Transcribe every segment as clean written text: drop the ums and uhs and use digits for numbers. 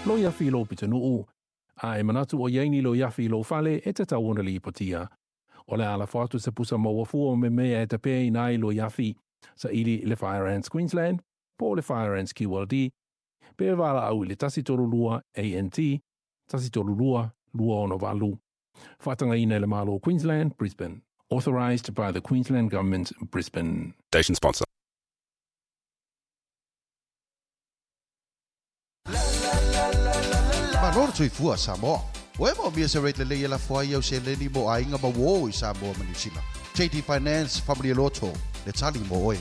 Loiafi i lou pitonuu, a e manatu o i ai ni loiafi i lou fale, e tatau ona lipotia. O le a lafo atu se pusa maua fua o mea e tapeaina ai loiafi, saili i le Fire Ants Queensland po o le Fire Ants QLD, pe valaau i le 132 ANT 132 268. Faatagaina e le Malo o Queensland, Brisbane. Authorised by the Queensland Government, Brisbane. Station sponsor. Malo le soifua Samoa. Ua e moomia se rate lelei e lafo ai au seleni mo aiga ma uō i Samoa ma Niu Sila? JD Finance Faamalie Loto le tali mo oe.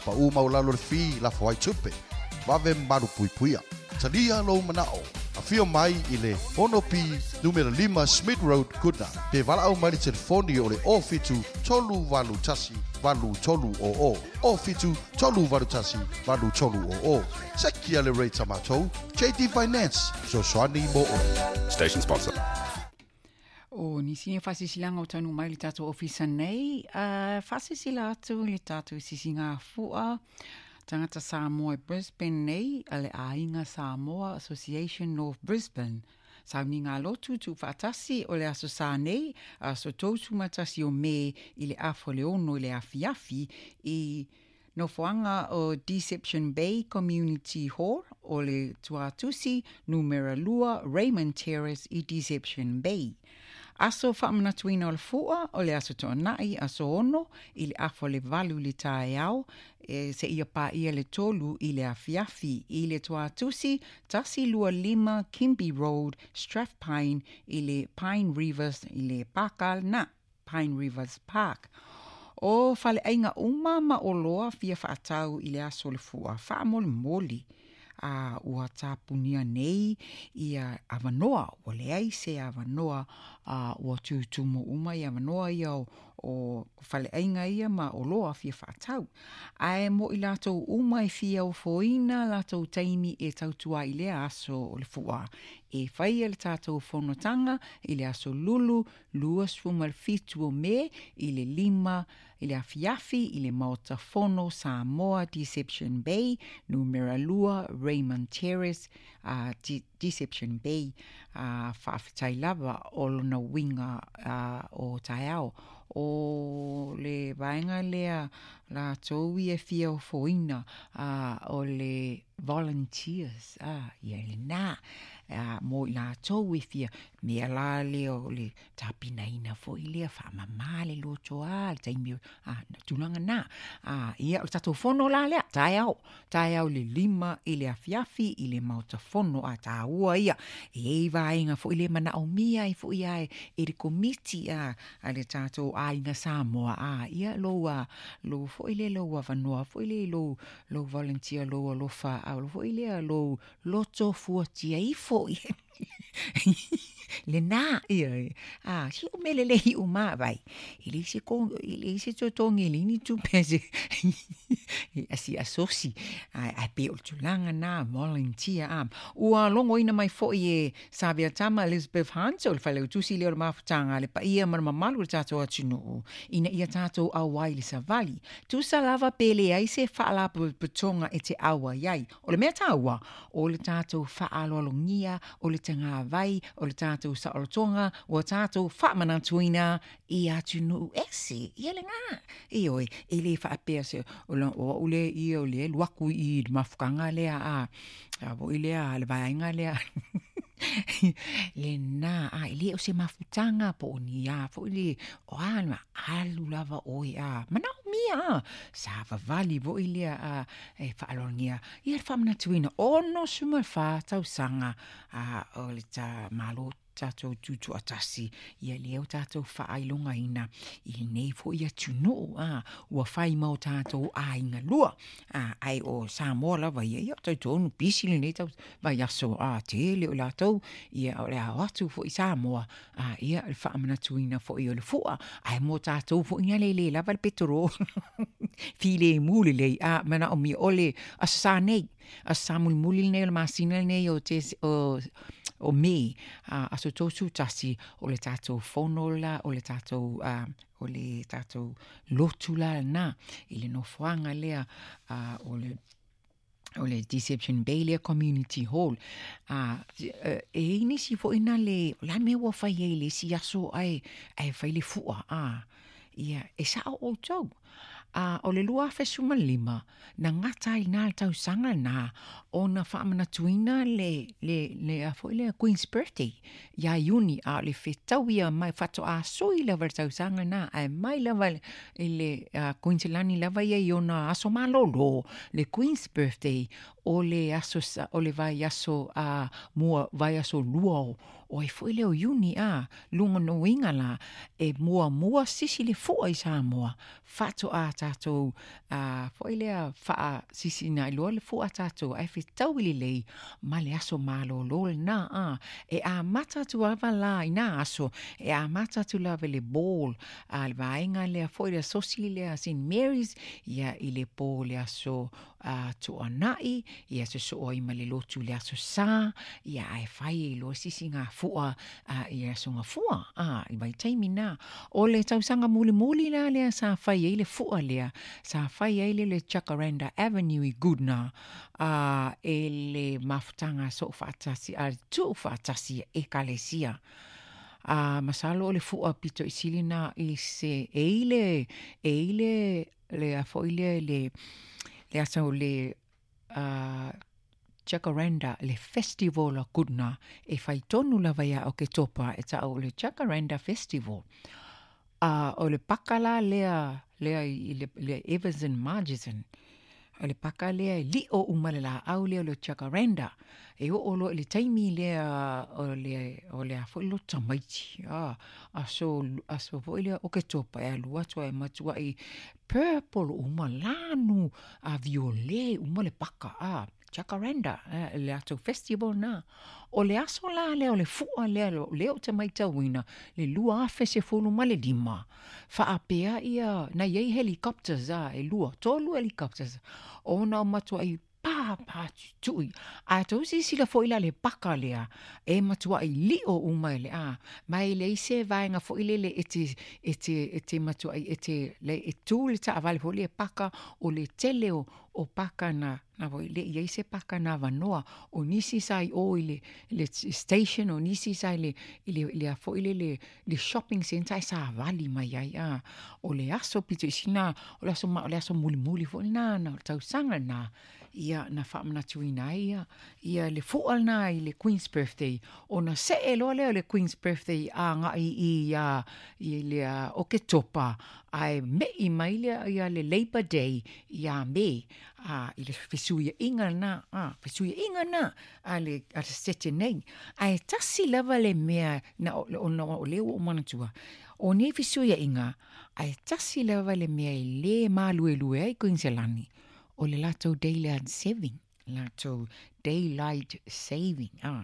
Pau maualalo le fee lafo ai tupe. Vave malupuipuia. Talia lou manao. Afio mai i le 6P numera 5 Smith Road, Goodna. Pe valaau mai le telefoni o le 07 381 8300. 07 381 8300. Sekia le rate a matou. JD Finance, fesoasoani mo oe. Station sponsor. O nisi nei faasilasilaga o taunuu mai i le tatou ofisa nei, uh, faasilasila atu i le tatou sisigafua tagata Samoa i Brisbane nei a le Aiga Samoa Association North Brisbane. Sauniga lotu tuufaatasi o le Aso Sa nei, aso 31 o Me i le afa o le ono i le afiafi i nofoaga o Deception Bay Community Hall o le Tuatusi Numera 2 Raymond Terrace i Deception Bay. Aso faamanatuina o le Fua o le Aso Toonai, aso 6 i le afa o le 8 i le taeao e seia paia le 3 i le afiafi i le Tuatusi 125 Kimby Road, Strathpine i le Pine Rivers i le pāka lena, Pine Rivers Park. O faleaiga uma ma oloa fia faatau i le aso o le fua faamolemole a ua tapunia nei ia avanoa, ua leai se avanoa a ua tutumu uma ia avanoa ia o, o faleaiga ia ma oloa fia faatau. Ae mo i latou uma e fia ofoina latou taimi e tautua i lea aso o le fua, e faia le tatou fonotaga i le aso Lulu 27 o Me i le 5 i le afiafi i le Maota Fono Samoa Deception Bay, numera 2 Raymond Terrace, uh, Deception Bay, uh, faafetai lava o lona uiga uh, o taeao. O le vaega lea latou ia e fia ofoina uh, o le volunteers, ah, ia lena, ah, mo i latou e fia, mea la lea o le tapenaina foi lea, faamama le loto a, le taimi, ah, tulaga na. Ah, ia, o le tatou fono la lea, taeao, taeao le 5 i le afiafi i le Maota Fono, a taua ia, e i ai vaega foi lea manaomia ai foi a e le komiti a, a le tatou aiga Samoa, a, ia, lou, a, lou foi lea, lou avanoa foi lea i lou, lou volunteer, lou alofa, a o foi lea lou loto fuatia ifo i lena, ia, a, si o mele le hiu ma vai, i le isi ko, i le isi totogi le ni tupe se, a si asosi, ai, ai pe o le tulaga na, volunteer, a, ua logoina mai foi e Savia Tama Elizabeth Hunt o le Failautusi lea o le Mafutaga a le Paia ma le Mamalu o le tatou atunuu, ina ia tatou auai i le savali. Tusa lava pe leai se faalapotopotoga e te auai ai. O le mea taua, o le tatou faaaloalogia, o le tagavai, o le tatou saolotoga, ua tatou faamanatuina i atunuu ese. Ia lena. Ioe, e le faapea se, o au lea ia o le alu aku i le mafutaga lea a, a foi lea le vaega lea. Lena, a e le o se mafutaga po o ni a foi le, o a ma alu lava oe a manaomia a, savavali foi lea a e faaloalogia ia le faamanatuina 64 tausaga a o le ta Malo tatou tutoatasi, ia lea ua tatou faailogaina i lenei foi atunuu, a, ua fai ma o tatou aiga lua, a, ae o Samoa lava ia, ia talitonu pisi lenei tau vaiaso, a, tele o latou, ia o le a o atu foi Samoa, a, ia le faamanatuina foi o le fua, ae mo tatou foi na le le lava le petoro, filemu lelei, a, manaomia o le Aso Sa nei, Aso Sa mulimuli lenei o le masina lenei o, te, o o Me, a, aso 31, o le tatou fono la, o le tatou, a, o le tatou lotu la lena, i le nofoaga lea, a, o le O le Deception Bay lea Community Hall. A, e i ai nisi foi na le, o le a le mea ua fai ai i le isi aso ae, ae fai le fua, a, ia, e sao outou. A, o le 2015, na gata ai na le tausaga lena ona faamanatuina le, le, le a foi lea Queen's Birthday ia Iuni, a o le fetau ia mai faatoa sui lava le tausaga lena, ae mai lava i le Kuiniselani lava ia i ona aso malolo, le Queen's Birthday, o le aso, o le vaiaso a mua, vaiaso lua o, o ai foi lea o Iuni, a, lona uiga la, e muamua sisi le fua i Samoa, faatoa tatou, a, foi lea, faasisina ai loa le fua a tatou, ae fetaui lelei ma le aso malolo lena, a, e amata atu lava la i na aso, e amata atu lava i le ball, a le vaega lea foi le asosi lea St Mary's ia i le po le aso a Tuanai ia sosoo ai ma le lotu le aso Sa ia ae fai ai loa sisi gafua a i le aso Gafua a i vaitaimi na. O le tausaga mulimuli la lea sa fai ai le fua lea sa fai ai le le Jacaranda Avenue i Goodna a e le mafutaga soo faatasi a tuu faatasi e Ekalesia. A masalo o le fua pito i sili na i se e i le e i le le a foi lea le le asa o le uh, Jacaranda le festival a Goodna e fai tonu lava ia Oketopa e ta'u o le Jacaranda Festival. A o le paka la lea lea i le, le Evans and Margison O le paka lea e liʻo uma le lāʻau lea o le jacaranda. E oo loa i le taimi lea o le, o le a foi le loto tamaiti, a, aso, aso foi lea Oketopa e alu atu ai matuai purple uma lanu, a viole uma le paka, a, jacaranda, a, le latou festival lena. O le aso la lea o le fua lea, lea ou te matauina, le 2015, faapea ia, na i ai helicopters a, e lua, tolu helicopters, ona o matuai pāpā tutui. A tou silasila foi la le paka lea, e matuai liʻo uma e le a, ma e leai se vaega foi lele e te, e te, e te matuai, e te, le, e tu le taavale foi lea e paka, o le tele o, o paka na, na foi le i ai se paka na avanoa, o nisi sa i o i le, le station, o nisi sa i le, i le, le a foi le, le, le shopping centre e savali mai ai, a, o le aso pito i sina, o le aso ma, o le aso mulimuli foi lena, na, o le tausaga lena, ia, na faamanatuina ai ia, ia le fua lena i le Queen's Birthday, ona see loa lea o le Queen's Birthday agai i, ia, i le Oketopa, ae meʻi mai lea ia le Labour Day iā Me, a, i le fesuiaʻiga lena, a, fesuiaʻiga lena a le, a le Setete nei. Ae tasi lava le mea na o, ona o lea ua ou manatua, o nei fesuiaʻiga, ae tasi lava le mea e lē maluelue ai Kuiniselani, o le latou daylight saving. Latou daylight saving a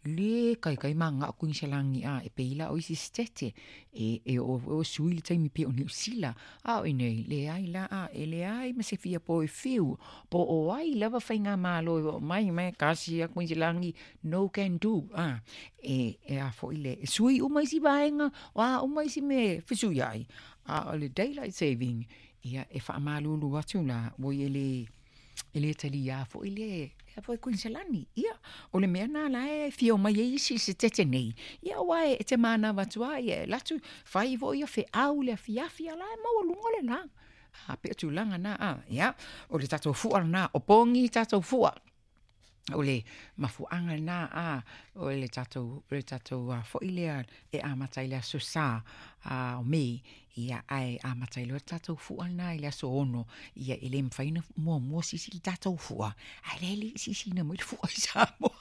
le kaikai ma ngao Kuiniselani a e pei la o isi sitete e e o o sui le taimi pei o Niu Sila a o inei leai la a e leai ma se fia po e fiu po o ai lava faigamalo e oo mai mai kasi a Kuiniselani no can do a e e a foi le e sui uma isi vaega o a uma isi mea e fesui ai a o le daylight saving ia e faamalulu atu la ua ia le E le taliā foi le ea foi Kuiniselani. Ia, o le mea nā la e fia omai ai isi i se tete nei. Ia, aua e te mānawa atu a, ia e latu, fai foi ia feau le afiafi a la e maualuga le la. A, pei o tulaga na, a, ia, o le tatou fua lena, o pogi tatou fua. O le mafuaaga lena, a, o le tatou, o le tatou a foi lea e amata i le aso Sa, a, o Me, ia, ae amata ai loa le tatou fua lena i le aso 6, ia, e le mafai ona muamua sisi le tatou fua, ae lea e le i sisiina mai le fua i Samoa.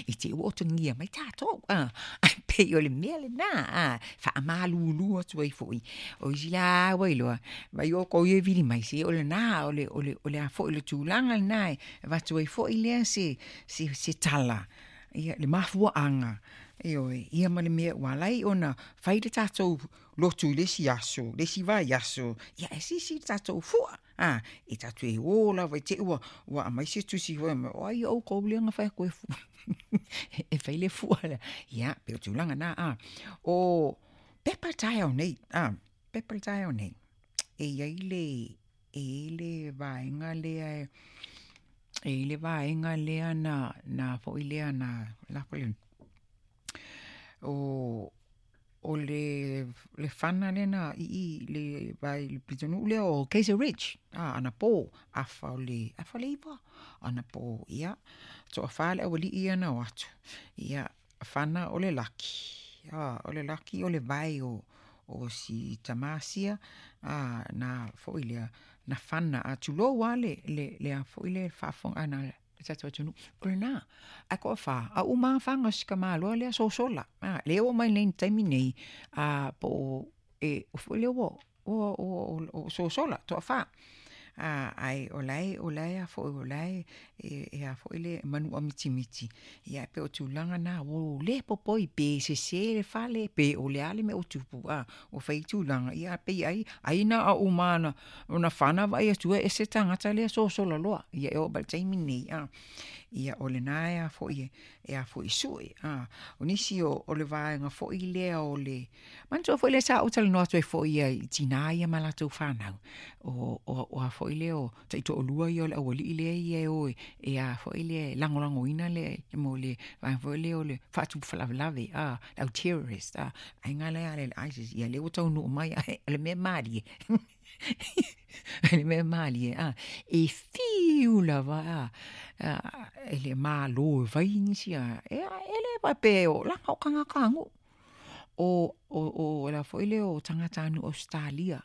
I te ua otagia mai tatou, a, ae pei o le mea lena, a, faamalulu atu ai foi. O isi la ua iloa, vai outou ia e vili mai, se o lena, o le, o le, o le a foi le tulaga lena e avatu ai foi lea se, se, se tala, ia, le mafuaaga, ioe, ia ma le mea ua ala ai ona fai le tatou lotu i le isi aso, le isi vaiaso, ia e sisi le tatou fua. A, e tatou e ō lava i te ua, ua aumai se tusi foi mai, o ai oukou lea na fai atu e e fai le fua lea. Ia, pei o tulaga na, a. O pepa taeao nei, a, pepa taeao nei, e i ai le, E i ai le vaega lea e e i ai le vaega lea na na foi lea na lafo le o o le le fana lea na i i le vai le pitonuu lea o Kaiser Ridge anapo afa o le 9 anapo, ia toafa le aualii ia na o atu, ia fana o le laki, o le laki o le vae o si tamā sia na foi lea na fana, a tulou lava le le a foi lea faafofoga a le tatou atunuu, o lena. Ae toafa, a uma lava faga o si tamaloa lea sosola, lea e oo mai nei i le taimi lenei, po o e foi lea ua ua sosola, toafa. Ae o la e o la e a foi o la e e a foi le manua mitimiti, ia e pei o tulaga na ua le popoi pe sese le fale pe o le a le mea ua tupu, ua fai tulaga, ia ae pei ai ai na o uma lava ona fana vaai atu e ese le tagata lea sosola loa. Ia e oo mai i le taimi lenei, ia o lena e a foi e a foi e sue. O nisi o le vaega foi lea o le manatua foi lea sa ou talanoa atu ai foi i tina ia ma latou fanau, o a foi lea o taitoalua ia o le aualii lea ia e o e a foi lea e lagolagoina le mo le vaega foi lea o le faatupu faalavelave le au terrorist vaega lea a le ISIS, ia lea ua taunuu mai ae o le mea malie le mea malie e fiu lava e le Malo e fai nisi e le faapea leaga o tagatanuu. O le a foi lea o tagatanuu Ausetalia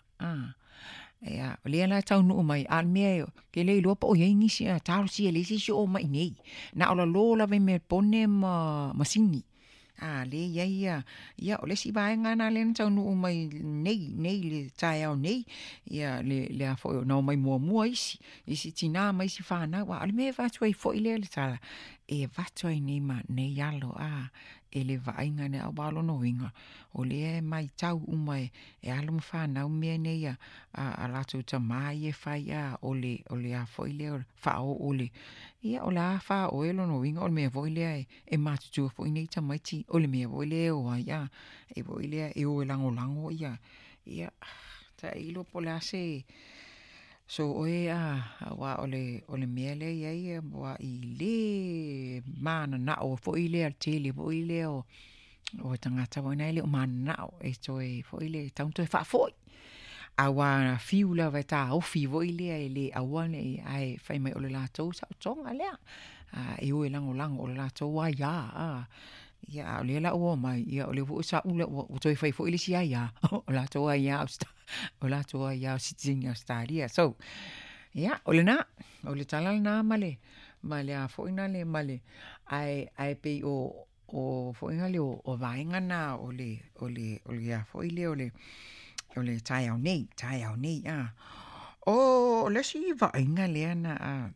ia o lea la e taunuu mai, a o le mea ou te le iloa po o i ai nisi, talosia e leai se isi o oo mai i inei. Na o lalo lava i Melebone ma Sini, lea e i ai ia, ia o le isi vaega lena lea na taunuu mai nei nei i le taeao nei, ia le a foi na omai muamua isi, isi tina ma isi fanau. A o le mea e avatu ai foi lea le tala, e avatu ai nei ma nei alo e le vaaiga lea, aua o lona uiga, o lea e matau uma e alo ma fanau mea nei a latou tama ia e fai, o le o le a foi lea o le faaoo o le, ia o le a faaoo ea lona uiga o le mea foi lea e matutua foi nei tamaiti, o le mea foi lea e o ai, e foi lea e o e lagolago ia, ia tailo po o le a se so oe aua o le mea lea e i ai e matuai le mananao foi lea le tele foi lea o tagata foi nei e le o mananao e toe foi lea e tatau ona toe faafoi. Aua na fiu lava e taofi foi lea e le aua ne i, ae fai mai o le latou saotoga lea. E o e lagolago o le latou aia. Ia a o lea la ua omai, ia o lea foi ua sa'u ua toe fai foi le isi aia, o latou aia o latou aia o sitiseni Ausetalia. So, ia, o lena, o le tala lena ma le ma le a foi nale ma le ae ae pei o o foi nale o vaega na o le o le o le a foi lea o le o le taeao nei, taeao nei. O le isi vaaiga lea na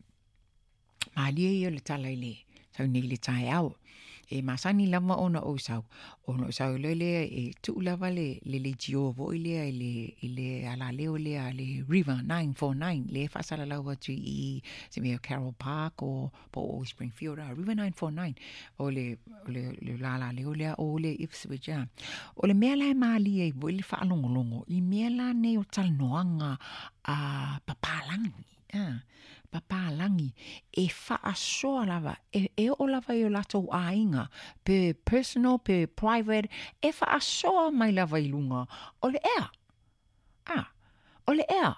malie ia o le tala i le sau nei i le taeao. E masani lava ona ou sau, ona ou sau loa lea e tuu lava le le leitio foi lea i le i le alaleo lea a le River 949 lea e faasalalau atu i se mea o Carroll Park o po o Springfield River 949 o le o le le alaleo lea o le Ipswich O le mea la e malie ai foi le faalogologo i mea la nei o talanoaga a papalagi papalagi e faasoa lava, e, e oo lava i o latou aiga, pe personal, pe private, e faasoa mai lava i luga o le ea. A, o le ea,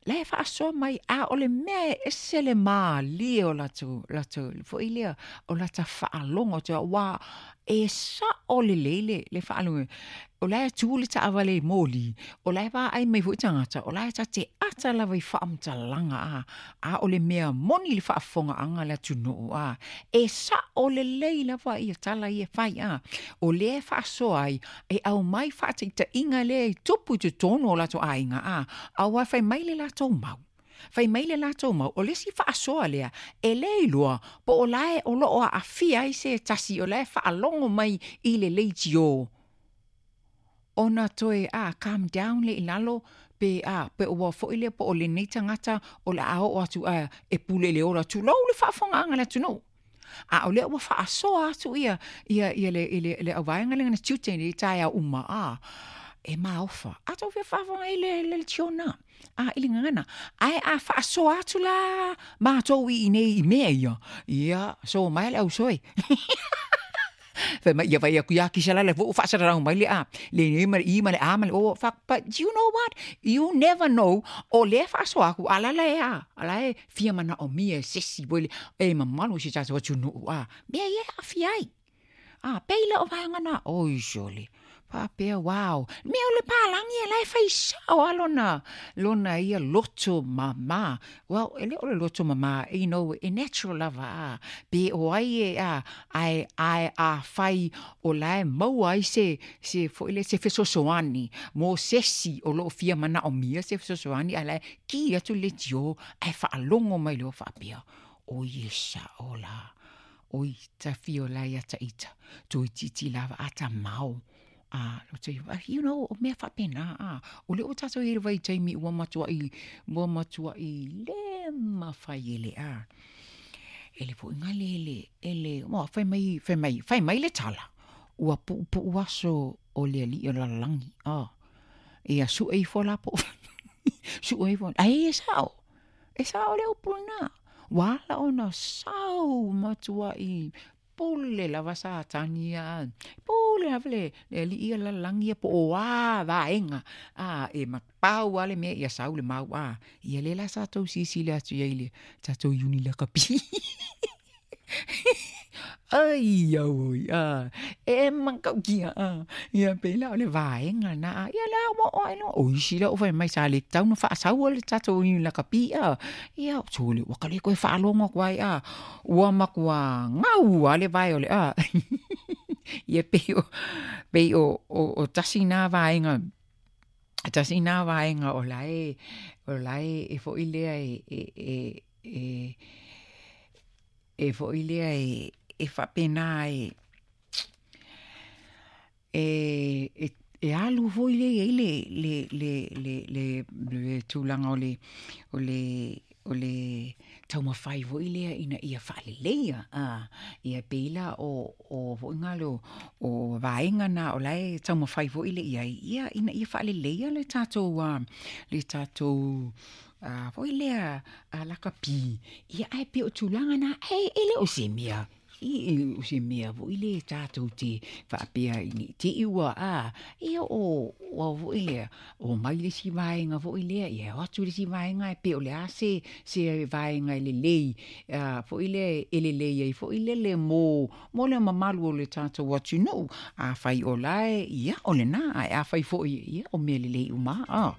la e faasoa mai, a o le mea e ese le malie o latou, latou, foi lea, o lata faalogo atu, aua e sao lelei le, le faalogo. O la e tu le taavale i moli, o la e vaai mai foi tagata, o la e ta te ata lava i faamatalaga, a, a o le mea moni le faafofogaaga a le atunuu, a, e sao lelei lava ia tala ia e fai, a, o lea e faasoa ai, e aumai faataitaiga lea e tupu i totonu o latou aiga, a, aua fai mai le latou mau. Fai mai le latou mau, o le isi faasoa lea, e le iloa po o la e o lo o aafia ai se tasi o la e faalogo mai i le leitio ona toe a calm down lea i lalo pe a pe ua foi lea po o lenei tagata o le a oo atu a e pule i le ola, tulou le faafofogaaga a le atunuu. A o lea ua faasoa atu ia ia ia le le le auvaega lea na tiute i taeao uma a. e maofa. A tou fia faafofoga i le le leitio lena, a i le gagana. Ae a faasoa atu la matou i inei i mea ia, ia, so mai le ausoe. Fai mai, ia fai atu ia kisa la le foi ua faasalalau mai le a, le ma le i ma le a ma le o, fuck, but you know what, you never know, o lea e faasoa atu, a la la e a, a la e fia manaomia e se isi foi le, e mamalu i si tatou atunuu, a, mea ia e aafia ai. A, pei la o vaega na, oi sole, faapea, wow, mea o le palagi e la e fai sao lava lona, lona ia loto mama. Well, e le o le loto mama, you know, e natural lava, a, pe o ai e, a, ae, ae afai o la e maua ai se, se foi lea, se fesoasoani mo se isi o lo o fia manaomia se fesoasoani, ae la e ki atu le leitio ae faalogo mai loa faapea, oi e sao la. Oi, tafio la ia ta ita, toeitiiti lava a tamao. A, you know, o mea faapena, a, o lea ua tatou i ai i le vaitaimi ua matuai, ua matuai le mafai e le, a, e le foi na le, le, e le, ua, fai mai, fai mai, fai mai le tala, ua puupuu aso o le alii o le lalolagi, a, ia sue ifo la po o, sue ifo, ai e sao, E sao le upu lena. Ua ala ona sau matuai pule lava Satani ia, pule lava le le alii ia lalolagi ia po o a vaega a e pau lava le mea ia sau le mau a. Ia lea la sa tou silasila atu i ai i le tatou iuni lakapi. Ai auoi a e matautia a ia pei la o le vaega lena a ia la ua oo ae loa o isi la ua fai mai sa le tatau ona faasaua le tatou lakapi a ia sole ua ka le toe faalogo atu ai a ua matua gau lava le vae o le a ia pei o pei o o tasi na vaega tasi na vaega o la e o la e foi lea e e e E foi lea e e faapena e e e alu foi lea i ai le le le le le le tulaga o le o le o le taumafai foi lea ina ia faaleleia a ia pei la o o foi na leo o vaega na o la e taumafai foi lea i ai ia ina ia faaleleia le tatou le tatou a foi lea a lakapi, ia ae pei o tulaga na, e, e le o se mea, e le o se mea foi lea tatou te faapea i ne i te i ua, a, ia o, o foi lea, omai le isi vaega foi lea, ia o atu le isi vaega e pei o le a se, se vaega e lelei, a, foi lea e lelei ai foi lele mo, mo le mamalu o le tatou atunuu. Afai o la e, ia, o lena, ae afai foi, ia, o mea lelei uma, a.